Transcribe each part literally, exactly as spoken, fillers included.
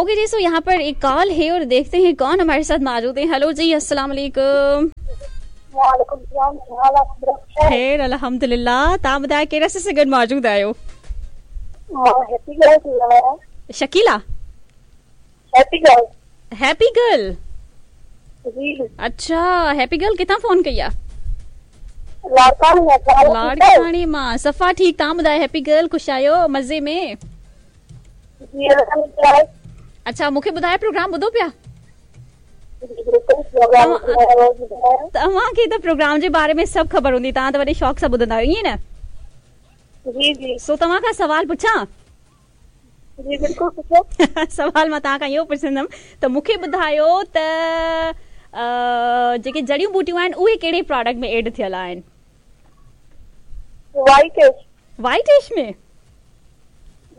Okay जी, सो यहाँ पर एक कॉल है और देखते हैं कौन हमारे साथ मौजूद है। हेलो जी, अस्सलाम वालेकुम। वालेकुम सलाम, छा हाल आहे? खैर अल्हम्दुलिल्लाह। तव्हां ॿुधायो केरु असां सां गॾु मौजूद आहियो? मां हैप्पी गर्ल थी ॻाल्हायां। Shakila? Happy girl. Happy girl? जी। अच्छा, हैप्पी गर्ल किथां फोन कई आहे? लाड़काणे मां। लाड़काणे मां। सफ़ा ठीकु, तव्हां ॿुधायो हैप्पी गर्ल, ख़ुशि आहियो मज़े में? जी अल्हम्दुलिल्लाह। अच्छा, मूंखे ॿुधायो प्रोग्राम ॿुधो पिया? प्रोग्राम तव्हांखे त प्रोग्राम जे बारे में सभु ख़बर हूंदी, तव्हां त वॾे शौक़ सां ॿुधंदा आहियो, ईअं न? जी जी। सो तव्हां खां सवाल पुछां? जी बिल्कुल पुछो। सवाल मां तव्हां खां इहो पुछंदमि त मूंखे ॿुधायो त जेके जड़ियूं बूटियूं आहिनि उहे कहिड़े प्रोडक्ट में एड थियल आहिनि? वाइट एश। वाइट एश में?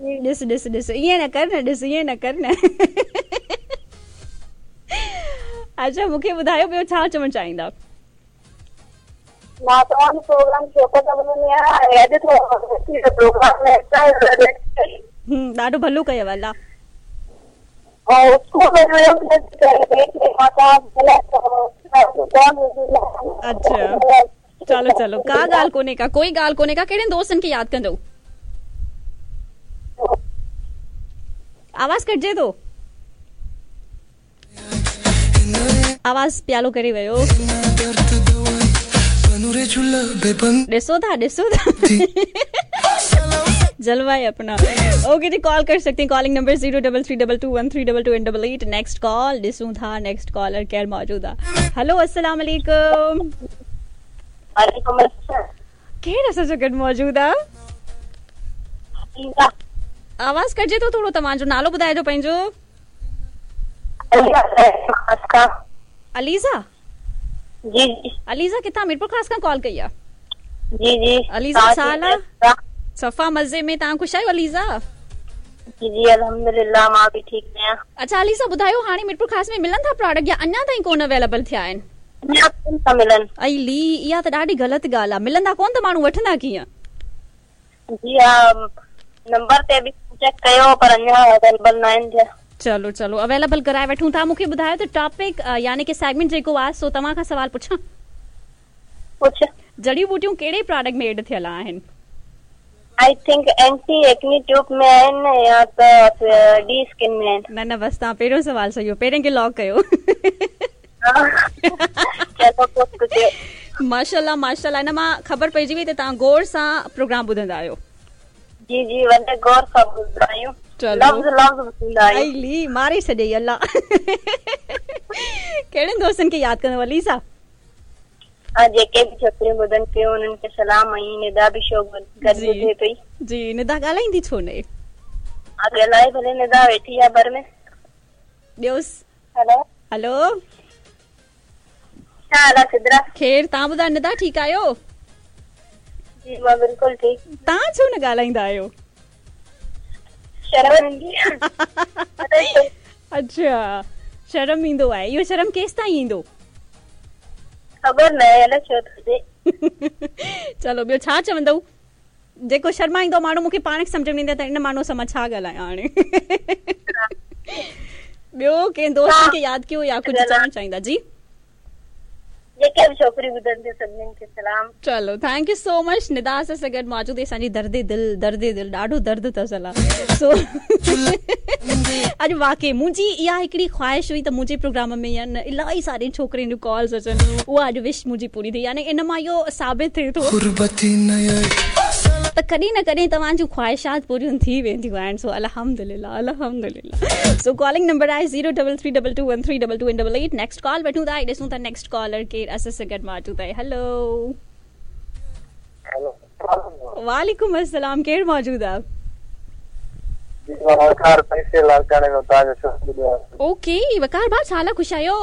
ॾिस ॾिस ॾिस, ईअं न कर न, ॾिस ईअं न कर न। अच्छा, मूंखे ॿुधायो ॿियो छा चवणु चाहींदा? मां तव्हांजो प्रोग्राम शौक़ सां ॿुधंदी आहियां ऐं अॼु थोरो प्रोग्राम में हम्म, ॾाढो भलो कयव अलाह। ऐं स्कूल में अच्छा, चलो चलो, का ॻाल्हि कोन्हे का, कोई ॻाल्हि कोन्हे का। कहिड़े दोस्तनि खे यादि कंदव? आवाज़ कटिजे थो, आवाज़ प्यालो करे वियो। ॾिसो था ॾिसो था जलवा है अपना। ओके जी, कॉल कर सकते हैं, calling number zero double three double two one three double two and double eight. Next call ॾिसूं था, नेक्स्ट कॉलर केरु मौजूद आहे। हेलो, अस्सलाम वालेकुम। वालेकुम अस्सलाम। केरु असां सां गॾु मौजूद आहे? आवाज़ कटिजे थो थोरो, तव्हांजो नालो ॿुधाइजो पंहिंजो। अलीज़ा? जी जी। अलीज़ा किथां? मीरपुर ख़ास खां कॉल कई आहे? जी जी। अलीज़ा छा हाल आहे? सफ़ा मज़े में। तव्हां ख़ुशि आहियो अलीज़ा? जी जी अल्हम्दुलिल्लाह, मां बि ठीकु आहियां। अच्छा अलीज़ा ॿुधायो, हाणे मीरपुर ख़ास में मिलनि था प्रोडक्ट या अञा ताईं कोन अवेलेबल थिया आहिनि? अञा कोन था मिलनि। अली, इहा त ॾाढी ग़लति ॻाल्हि आहे, मिलंदा कोन त माण्हू वठंदा कीअं? जी हा, नंबर ते बि चेक कयो पर अञा अवेलेबल न आहिनि थिया। चलो चलो, अवेलेबल कराए वठूं था। मूंखे ॿुधायो त टॉपिक यानी कि सेगमेंट जेको आहे, सो तव्हां खां सवाल पुछां? पुछ। जड़ियूं बूटियूं कहिड़े प्रोडक्ट में एड थियल आहिनि? I think anti acne tube में आहिनि या त डी स्किन में आहिनि। न न, बसि तव्हां पहिरियों सवाल सही हो, पहिरियों खे लॉक कयो। चलो पोइ माशाल्लाह माशाल्लाह, हिन मां ख़बर पइजी वई त तव्हां गौर सां प्रोग्राम ॿुधंदा आहियो। जी जी, वॾे गौर सां ॿुधंदा आहियूं। चलो लफ़्ज़ लफ़्ज़ ॿुधंदा आहियूं। अली मारे छॾियई अलाह। कहिड़नि दोस्तनि खे यादि कंदव अलीसा? हा, जेके बि छोकिरियूं ॿुधनि पियूं उन्हनि खे सलाम। ऐं निदा बि शो गॾु ॿुधे पई। जी, निदा ॻाल्हाईंदी छो न? हा, ॻाल्हाए भले, निदा वेठी आहे भर में। ॿियोसि। हेलो हेलो, छा हाल आहे सिद्रा? ख़ैर, तव्हां ॿुधायो निदा, ठीकु आहियो? जी मां बिल्कुलु ठीकु। तव्हां छो न ॻाल्हाईंदा आहियो? शर्म ईंदी आहे। अच्छा, शर्म ईंदो आहे। इहो शर्म केसि ताईं ईंदो? ख़बर न आहे अलाए छो थो थिए। चलो, ॿियो छा चवंदव? जेको शर्माईंदो माण्हू, मूंखे पाण खे सम्झ में ईंदो आहे त इन माण्हूअ सां मां छा ॻाल्हायां हाणे। ॿियो कंहिं दोस्त खे यादि कयो या कुझु चवणु चाहींदा? जी, जेके बि छोकिरियूं ॿुधनि थियूं सभिनीनि खे सलाम। चलो, thank you so much Nida. असां सां गॾु मौजूद असांजी दर्द दिल, दर्द दिल, ॾाढो दर्द अथसि अलाह। सो अॼु वाकई मुंहिंजी इहा हिकिड़ी ख़्वाहिश हुई त मुंहिंजे प्रोग्राम में या न इलाही सारी छोकिरियुनि जूं कॉल्स अचनि, उहा अॼु विश मुंहिंजी पूरी थी। यानी इन मां इहो साबित थिए थो त कॾहिं न कॾहिं तव्हांजूं ख़्वाहिशात पूरियूं थी वेंदियूं आहिनि। सो अल्हम्दुलिल्लाह अल्हम्दुलिल्लाह। सो कॉलिंग नंबर आहे zero double three double two one three double two and double eight. Next call वठूं था, ॾिसूं था नेक्स्ट कॉलर केरु असां सां गॾु मौजूदु आहे। हेलो, वालेकुम अस्सलाम, केरु मौजूदु आहे? ओके वकार भाउ, छा हाल आहे? ख़ुशि आहियो?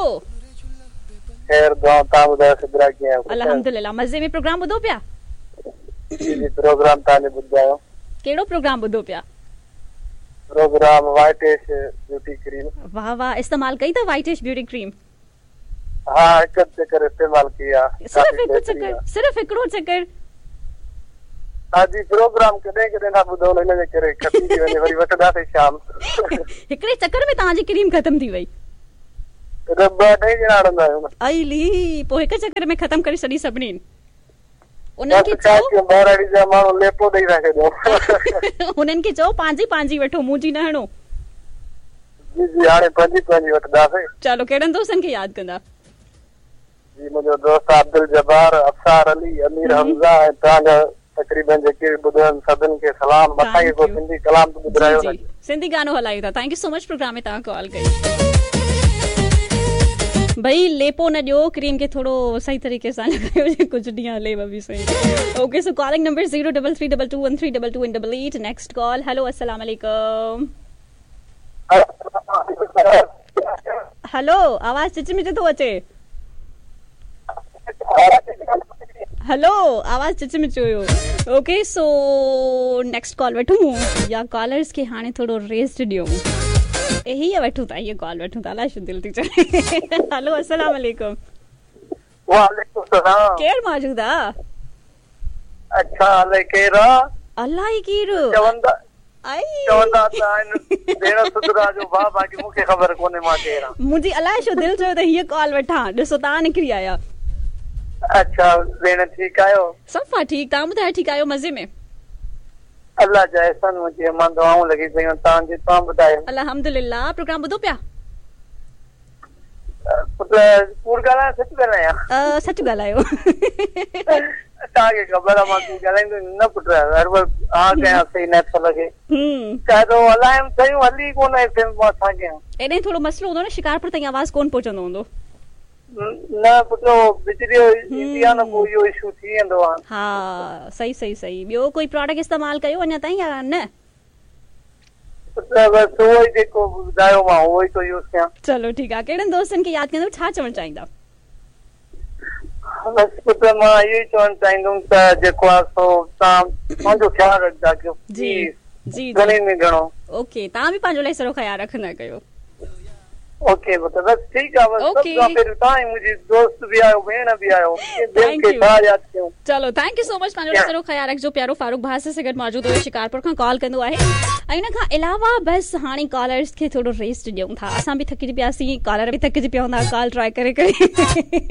ख़ैर दुआ, तव्हां ॿुधायो सिद्रा कीअं आहियो? अल्हम्दुलिल्लाह मज़े में। प्रोग्राम ॿुधो पिया? जी जी, प्रोग्राम तव्हांजो ॿुधायो। कहिड़ो प्रोग्राम ॿुधो पिया? Program whitish beauty cream. वाह वाह, इस्तेमाल कई अथव वाइटिश ब्यूटी क्रीम? हा, हिकु चकर इस्तेमाल कई आहे। सिर्फ़ हिकु चकर? सिर्फ़ हिकिड़ो चकर? हा जी, प्रोग्राम कॾहिं कॾहिं था ॿुधो, हिन जे करे खपी थी वञे, वरी वठंदासीं शाम। हिकिड़े चकर में तव्हांजी क्रीम ख़तमु थी वई? त ॿ अढाई ॼणा हणंदा आहियूं न। अली, पोइ हिक चकर में ख़तमु करे छॾी सभिनीनि। उन्हनि खे छा चओ कयूं, ॿारड़ी जा माण्हू लेपो ॾेई था छॾियूं। हुननि खे चओ पंहिंजी पंहिंजी वठो, मुंहिंजी न हणो। जी जी, हाणे पंहिंजी पंहिंजी वठंदासीं। चलो, कहिड़नि दोस्तनि खे यादि कंदा? जी, मुंहिंजो दोस्त अब्दुल जब्बार, अफसार अली, अमीर हमज़ा ऐं तव्हांजा तक़रीबन जेके बि ॿुधनि सभिनि खे सलाम। असांखे को सिंधी कलाम त ॿुधायो न। सिंधी गानो हलायूं था। Thank you so much programme में तव्हां कॉल कई। भई लेपो न ॾियो, क्रीम खे थोरो सही तरीक़े सां लॻायो, कुझु ॾींहुं हले बि सही। Okay, so calling number zero double three double two one three double two double eight. Next call. Hello, अस्सलाम वालेकुम। हेलो, आवाज़ चिच मिच थो अचे। हेलो, आवाज़ चिच मिच हुयो। ओके, सो नेक्स्ट कॉल वठूं या कॉलर्स खे हाणे थोरो रेस्ट ॾियूं? हीअ वठूं था, हीअ कॉल वठूं था। अलाए छो दिलि थी चवे। हेलो, अस्सलाम वालेकुम। वालेकुम सलाम। केरु मौजूदु आहे? अच्छा, अलाए केरु आहे? अलाए केरु? चवंदा आई चवंदा त आहिनि भेण सुधरा जो भाउ, बाक़ी मूंखे ख़बर कोन्हे मां केरु आहियां। मुंहिंजी अलाए छो दिलि चयो त हीअ कॉल वठां, ॾिसो तव्हां निकिरी आया। अच्छा भेण, ठीकु आहियो? सफ़ा ठीकु, तव्हां ॿुधायो, ठीकु आहियो? मज़े में? अलाह जा एहसान हुजे, मां दुआऊं लॻी पयूं आहिनि तव्हांजी, तव्हां ॿुधायो? अल्हम्दुलिल्लाह। प्रोग्राम ॿुधो पिया? पुट कूड़ ॻाल्हायां सच ॻाल्हायां? सच ॻाल्हायो। तव्हांखे ख़बर आहे मां कूड़ ॻाल्हाईंदो न पुट, हर वक़्त हा कयां सही नथो लॻे। काइदो हलायमि शयूं हली कोन एफ एम, मां छा कयां? एॾे थोरो मसइलो हूंदो न, शिकारपुर ताईं आवाज़ कोन पहुचंदो हूंदो। न पुट, बिजली ईंदी आहे न, पोइ इहो इशू थी वेंदो आहे। हा, सही सही सही। ॿियो कोई प्रोडक्ट इस्तेमालु कयो अञा ताईं या न? पुट बसि उहो ई जेको ॿुधायो मां उहो ई थो यूज़ कयां। चलो ठीकु आहे। कहिड़नि दोस्तनि खे यादि कंदो, छा चवणु चाहींदा? बसि पुट, मां इहो ई चवणु चाहींदुमि त जेको आहे सो तव्हां पंहिंजो ख़्यालु रखंदा कयो। जी जी, घणे में घणो। ओके, तव्हां बि पंहिंजो इलाही सारो ख़्यालु रखंदा कयो। ओके पुट, बसि ठीकु आहे। बसि सभु खां पहिरियों तव्हां ई मुंहिंजी दोस्त बि आहियो, भेण बि आहियो, ॿियनि खे छा यादि कयूं। चलो, thank you so much, पंहिंजो सारो ख़्यालु रखिजो। प्यारो फारूक भाउ सां गॾु मौजूदु हुयो, शिकारपुर खां कॉल कंदो आहे। ऐं हुन खां अलावा बसि हाणे कॉलर्स खे थोरो रेस्ट ॾियूं था। असां बि थकिजी पियासीं, कॉलर बि थकिजी पिया हूंदा कॉल ट्राई करे करे।